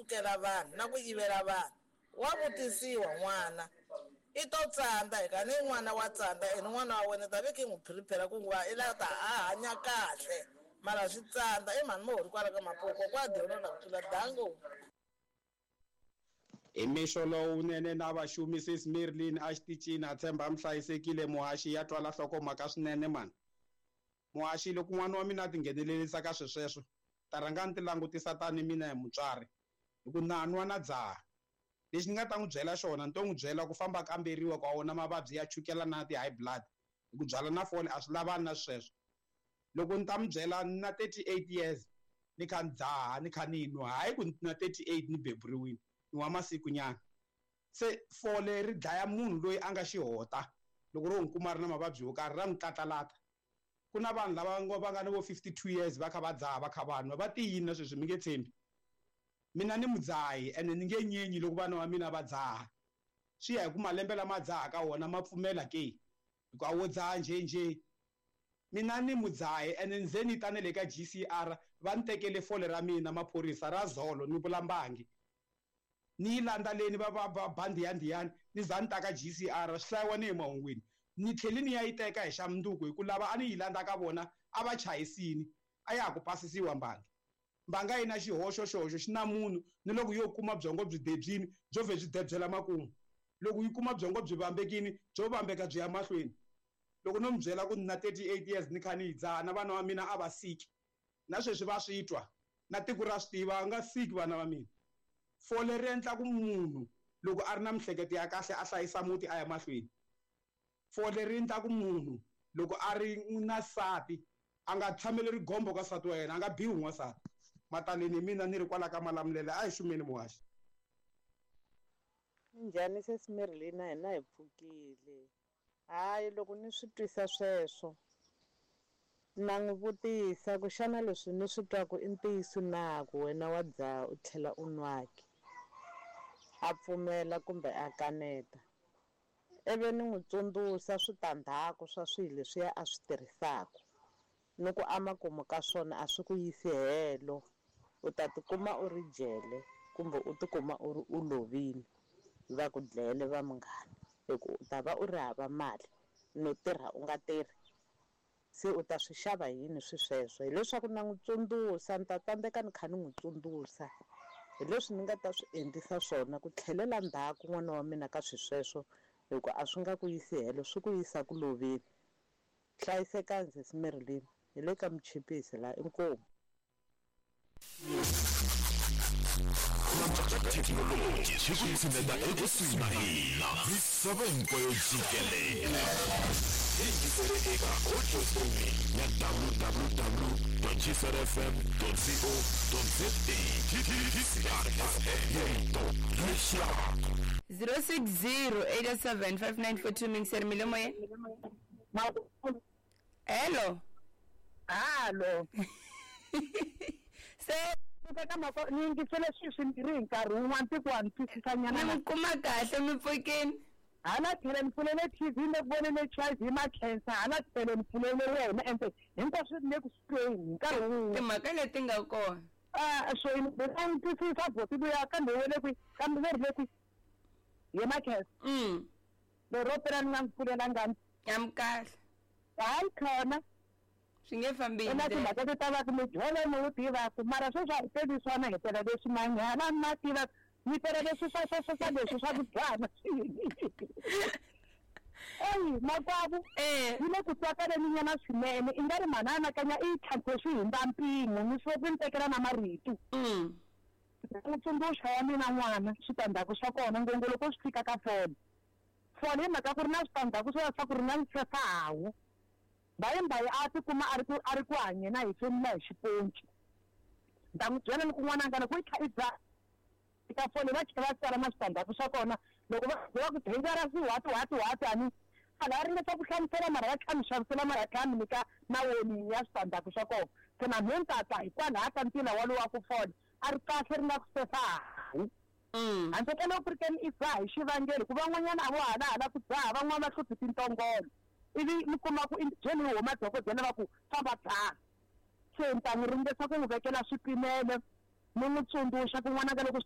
sukela vanhu na ku yivela vanhu. Wa vutisiwa n'wana. I to tsandza hi ka ni n'wana wa tsandza ene n'wana wa wena ta ve ki n'wi prepare ku va i la ta a hanya kahle. Mara swi tsandza i mhani mo hori kwala ka Mapuku kwa dyondzo ku tlula dango. Hi mixo lowunene na vaxumi sis Merlin a xitichini a tshemba mi hlayisekile muhaxi ya twala nhlokomhaka swinene mani. Muhaxi loko n'wana wa mina a tinghenelerisa ka swisweswo ta rhanga ni ti langutisa tani mina hi mutswari hi ku na nwa na dzaha. Lexi ni nga ta n'wi byela xona ni to n'wi byela ku famba kamberiwa ku a wona mavabyi ya chukela na ti-high blood hi ku byala na fole a swi lavani na sweswo. Loko ni ta n'wi byela ni na 38 years ni kha ni dzaha ni kha ni nwa hayi ku ni na 38 ni beburiwile ni wa masiku nyana. Se fole ri dlaya munhu loyi a nga xihota loko ro n'wi kuma ri na mavabyi yo karhi ra n'wi tlatlalata. Ku na vanhu lava va nga ni vo 52 years va kha va dzaha va kha va nwa va tiyini na sweswi mi nge tshembi. Mina ni mudzahi ene ni nge nyenyi loko vana va mina va dzaha. Swi ya hi ku malembe lama dzahaka wona ma pfumela ke hi ku a wo dzaha njhenjhe. Mina ni mudzahi ene ni ze ni ta na le ka GCR va ni tekele fole ra mina maphorisa ra zolo ni vula mbangi. Ni yi landzeleni va va va bandi ya ndiyani ni za ni ta ka GCR swi hlayiwa ni hi mahungwini. Ni tlheli ni ya yi teka hi xa mundzuku hi ku lava a ni yi landza ka vona a va chayisini a ya ha ku pasisiwa mbangi. Mbanga yi na xihoxo xihoxo xi na munhu ni loko yo kuma byongo byi debyini byo vhe byi debyela makumu. Loko yi kuma byongo byi vambekini byo vambeka byi ya mahlweni. Loko no mi byela ku ni na 38 years ni kha ni yi dzaha na vana va mina a va siki. Na sweswi va swi twa na tiko ra swi tiva a nga siki vana va mina. Fole ri endla ku munhu loko a ri na mihleketo ya kahle a hlayisa muti a ya mahlweni. Fole ri endla ku munhu loko a ri na nsati a nga tshameli rigombo ka nsati wa yena a nga biwi n'wansati. Mataleni hi mina ni ri kwala ka Malamulele a hi xumeni muhaxi. Minjhani sesi Merlin na hina hi pfukile. Hayi loko ni swi twisa sweswo na n'wi vutisa ku xana leswi ni swi twaku i ntiyiso na ku wena wa dzaha u tlhela u nwaki. A pfumela kumbe a kaneta. Ivi ni n'wi tsundzuxa switandzhaku swa swilo leswiya a swi tirhisaka. Ni ku amakumu ka swona a swi ku yisi helo. U ta tikuma u ri jele kumbe u tikuma u ri u lovile va ku dlele va munghana hi ku u ta va u ri hava mali no tirha u nga tirhi. Se u ta swi xava yini swi sweswo? Hileswaku na n'wi tsundzuxa ni ta tsandzeka ni kha ni n'wi tsundzuxa hi leswi ni nga ta swi endlisa swona ku tlhelela ndzhaku n'wana wa mina ka swi sweswo hi ku a swi nga ku yisi helo swi ku yisa ku loveni. Hlayisekani sesi Merlin hi le ka Muchipisi laha inkomu. Thekinoloji swi ku tshineta ekusuhi na hina misava hinkwayo jikelele. Yingisele eka audio streaming ya www.gcrfm.co.za. GCR FM rito lexaka 060 87 5942 mingiseri milomo ye. Hello. Halo. Se ni yingisele swilo swimbirhi hi nkarhi wun'wana tiko wa ni twisisanyana. Ni mi kuma kahle mi pfukini. Hala tlhelo ni pfulele TV ni le ku voneni HIV ma cancer hala tlhelo ni pfulele wena ende hinkwaswo ni le ku swi tweni hi nkarhi wun'we. Timhaka leti nga kona. So ni ni twisisa boti luya kambe we le kwihi kambe ve ri le kwihi ye ma cancer. Lero phela ni nga n'wi pfulelanga. Ya mi kahle. Hayi khona. Swi nge fambi hi Na ndlela. timhaka ti ta va ku mijolo ni wu tivaka mara sweswi a hi teli swona hi tela leswi manyala ni ma tivaka ni tela leswi swa swa swa swa leswi swa ku dlana. Eyi makwavo yi le ku twakaleni nyana swinene i nga ri mhani anakanya i yi tlhantlhe swi hundza mpimo ni swo ku ni tekela na marito. N'wi tsundzuxa ya mina n'wana switandzhaku swa kona ngopfu loko swi fika ka fole. Fole hi mhaka ku ri na switandzhaku swo swa ku ri na nsesa-hawu. Mbayimbayi a tikuma a ri ku a ri ku hanyeni a hefemula hi xiponci. Ni ta n'wi byela ni ku n'wananga loko i kha i dzaha eka fole va tlhela va tsala na switandzhaku swa kona loko va va ku dangerous what what what a ni a la ringeta ku hlamusela mara va tlhela mi xavisela mara tlhela mi nyika na warning ya switandzhaku swa kona. Se na mehe ni ta twa hikwalaho ka ntila walowu wa ku fole a ri kahle ri nga ku sefa-hawu. Handle ka loko ku ri ke ni i dzaha hi xivangelo ku van'wanyana a vo halahala ku dzaha van'wana va hluphi tintongolo. Ivi mi kuma ku i byeli yi huma dokodela va ku famba dzaha. Se ni ta n'wi ringeta ku n'wi vekela swipimelo ni n'wi tsundzuxa ku n'wananga loko swi